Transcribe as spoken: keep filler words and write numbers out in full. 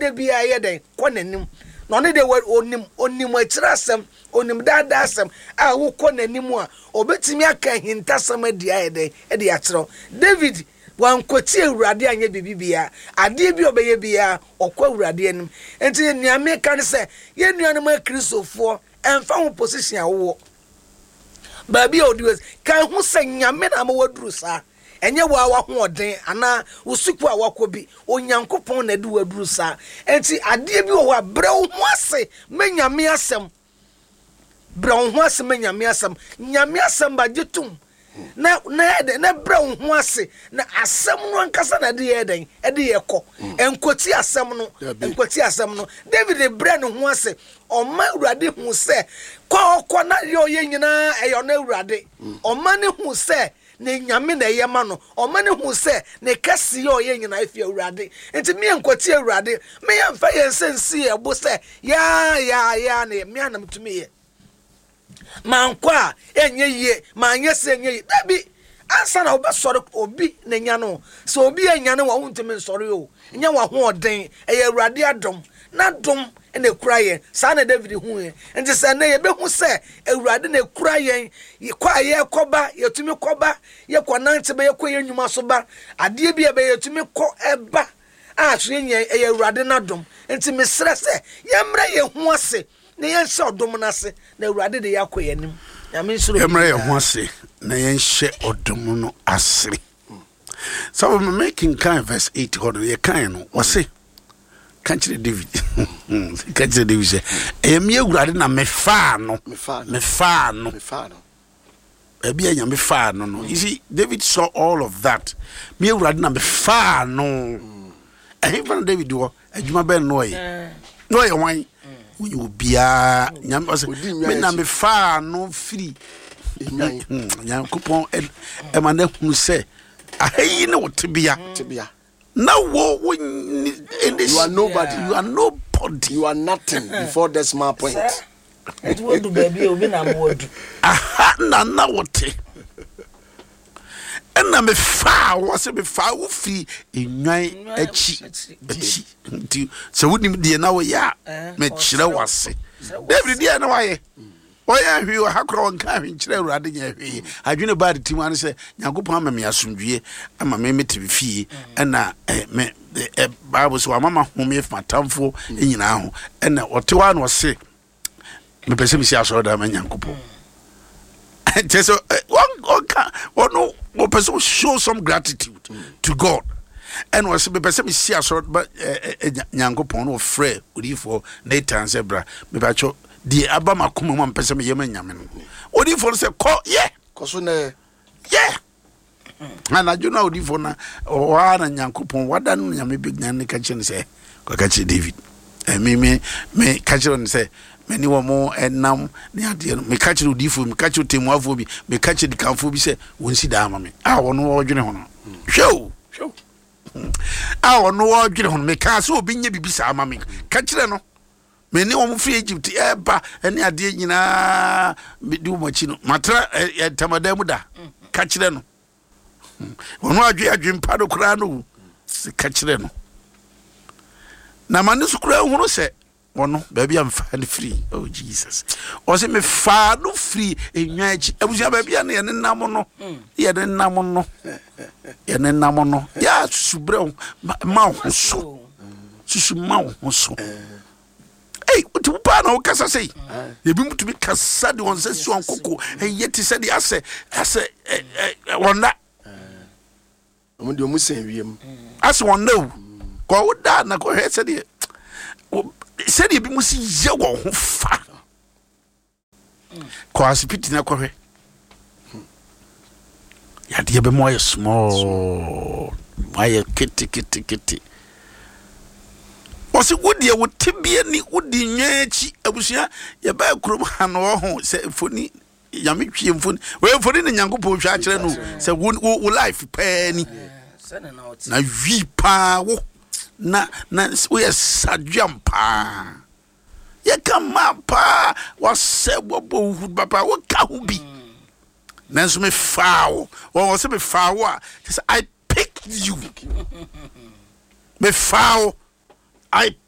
da biara yɛ dɛn kɔ n'anim. Na ɔno deɛ, onim onim akyerɛ asɛm, onim daadaa asɛm a wokɔ n'anim a, obetumi aka ahintasɛm adi ayɛ dɛn ɛde akyerɛw. David wankɔti Awurade anyɛ biribi biara. Adeɛ bi a ɔbɛyɛ biara, ɔkɔ Awurade anim. Nti nea meka ne sɛ, yɛn nuanom Akristofoɔ, ɛmfa ho position a wowɔ, baabi a ɔdi wɔ, ka ho sɛ Nyame na ama waduru saa. Ɛnyɛ wo a wahoɔden anaa wo sukuu a wakɔ bi. Onyankopɔn na ɛde waduru saa. Nti adeɛ bi wɔ hɔ a, brɛ wo ho ase ma Nyame asɛm. Brɛ wo ho ase ma Nyame asɛm. Nyame asɛm ba, gye tom na na yɛ dɛn na brɛ wo ho ase, na asɛm no ankasa na ɛde yɛ dɛn ɛde yɛ kɔ. Nkɔti asɛm no. Dabi. Nkɔti asɛm no. David brɛ ne ho ase, ɔma Awurade hu sɛ kɔ a ɔkɔ na deɛ ɔyɛ nyinaa ɛyɛ ɔno Awurade. Ɔma ne hu sɛ ne Nyame na ɛyɛ ma no. Ɔma ne hu sɛ ne kɛseɛ a ɔyɛ nyinaa efi Awurade. Nti mmea nkɔti Awurade, mmea mfa yɛn nsa nsi yɛn bo sɛ yaa yaa yaa ne mmea nam tumi yɛ mankɔ a ɛnyɛ yie, manyɛ sɛ ɛnyɛ yie. Dabi, ansa na wobɛsɔre, obi na nya no. Sɛ obi anya no wa, wontumi nsɔre o. Nyɛ w'ahoɔden, ɛyɛ Awurade adom na dom na ekura yɛn. Saa na David hu yɛn. Nti sɛ ɛnɛ yɛbɛhu sɛ Awurade na ekura yɛn, kɔ a yɛkɔba, yɛtumi kɔba, yɛkɔ nante ba, yɛkɔ yɛn nnwuma so ba, adeɛ bi a ɛbɛyɛ, yɛtumi kɔ ɛba a so yɛn nyɛ, ɛyɛ Awurade n'adom. Nti mesrɛ sɛ yɛmmerɛ yɛn ho ase na yɛnhyɛ ɔdom no ase, na Awurade de yɛakɔ yɛn anim. Nyame nsoro. Yɛmmerɛ yɛn ho ase na yɛnhyɛ ɔdom no ase. Sɛ mekenkan verse eight hɔ no, yɛkae no, wɔse ka kyerɛ David, ka kyerɛ David sɛ ɛyɛ me Awurade na mefaa no. Mefaa no. Mefaa no. Mefaa no. Baabi a Nyame faa no no you see, David saw all of that. Me Awurade na mefaa no. Ɛhefa na David wɔ? Adwuma bɛn no ɔyɛ na ɔyɛ hwan? Wonyɛ obiaa. Nyame ɔsɛ Odi nnwan me na akyi. Mefaa no firi Nnwan. Hmm, Nyankopɔn ɛ- ɛma no ahunu sɛ aha yi ne wo tebea. Tebea. Na wo wo nni- You are nobody. You are nobody. You are nothing before decimal point. Ɛti wadu baabi a, obi na ama wadu. Aha na na wote, ɛna mefaa wɔ sɛ mefaa wo firi nnwan akyi akyi Nti sɛ wonim deɛ na woyɛ a, Eh, mekyerɛ wo ase. David deɛ na wayɛ, ɔyɛ hwee wɔ ha kora, wɔnka hwee nkyerɛ Awurade, nyɛ hwee. Adwene baa de tim ano sɛ Nyankopɔn ama me asomdwie, ama me mete me fie, ɛna eh, me eh, eh, Bible sɛ wama ma home afi m'atamfoɔ nyinaa ho. Ɛna ɔte hɔ a na ɔse mepɛ sɛ mesi asɔredan ma Nyankopɔn. Kyerɛ sɛ eh, wɔn- ɔnka ɔno wɔpɛ sɛ show some gratitude to God. Ɛna ɔsɛ mepɛ sɛ mesi asɔre ba ɛ, ɛ, ɛ, Nyankopɔn. Na ɔfrɛ odiyifoɔ Nathan sɛ bra, mepakyɛ, deɛ aba makoma mu a mepɛ sɛ meyɛ ma Nyame no. Odiyifoɔ no sɛ kɔ yɛ. Kɔ so nɛ. Yɛ anadwo no a odiyifoɔ no ɔhɔ a na Nyankopɔn wada no, Nyame bɛgyina ne ka kyerɛ no sɛ kɔka kyerɛ David. Eh, me me me ka kyerɛ no sɛ mene wɔ mo ɛnam ne adeɛ no, meka kyerɛ odiyifoɔ, meka kyerɛ ɔtɛmmuafoɔ bi, meka kyerɛ dikanfoɔ bi sɛ wɔnsi daa ma me a ɔno wɔdwene ho no. Hwɛ o, a ɔno wɔdwene ho no, mekaa sɛ obi nyɛ biribi saa ma me. Ka kyerɛ no mene wɔn firi Egypt ɛba ɛne adeɛ nyinaa mede wɔn akyi no matra ɛ- ɛ, ntamadan mu da. Ka kyerɛ no ɔno adwe adwempa no koraa no sɛ ka kyerɛ no na ma ne so koraa hunu sɛ ɔno baabi a mefaa no firi. Oh Jesus, ɔsɛ mefaa no firi nnwan akyi. Abusua, baabi a no yɛne nam no, yɛne nam no, yɛne nam no, yɛ susu berɛ wo ma- ma wo ho so, susu ma wo ho so. Ei, wote wo paa na wokasa sei, ebi mu tumi kasa de wɔn nsa si wɔn koko, ɛyɛ te sɛ deɛ asɛ asɛ ɛ ɛ wɔn Ɔmo deɛ, ɔmo sɛn wiem. Asɛ wɔn na o kɔ wo da na kɔhwɛ sɛdeɛ wo- sɛdeɛ ebi mu si yɛ wɔn ho fa. Kɔ asipiti na kɔhwɛ yadeɛ bɛ mu ayɛ small, ayɛ ketekete. Wɔsi wo deɛ, wo tebea ni, wodi nnwan akyi. Abusua, yɛbɛɛ kurom ha no, ɔho sɛ mfoni Nyame twie mfoni wei, mfoni ne Nyankopɔn hwɛ akyerɛ no sɛ wo wo wo life pɛɛ ni. Sɛne na ɔte. Na wi paa wo na na woyɛ sadweam paa, yɛka mmaa paa, wasɛ wɔbɔ wo hu papa, woka ho bi. Nanso mefaa wo. Wɔwɔ sɛ mefaa wo a, kyɛ sɛ I picked you. Mefaa wo, I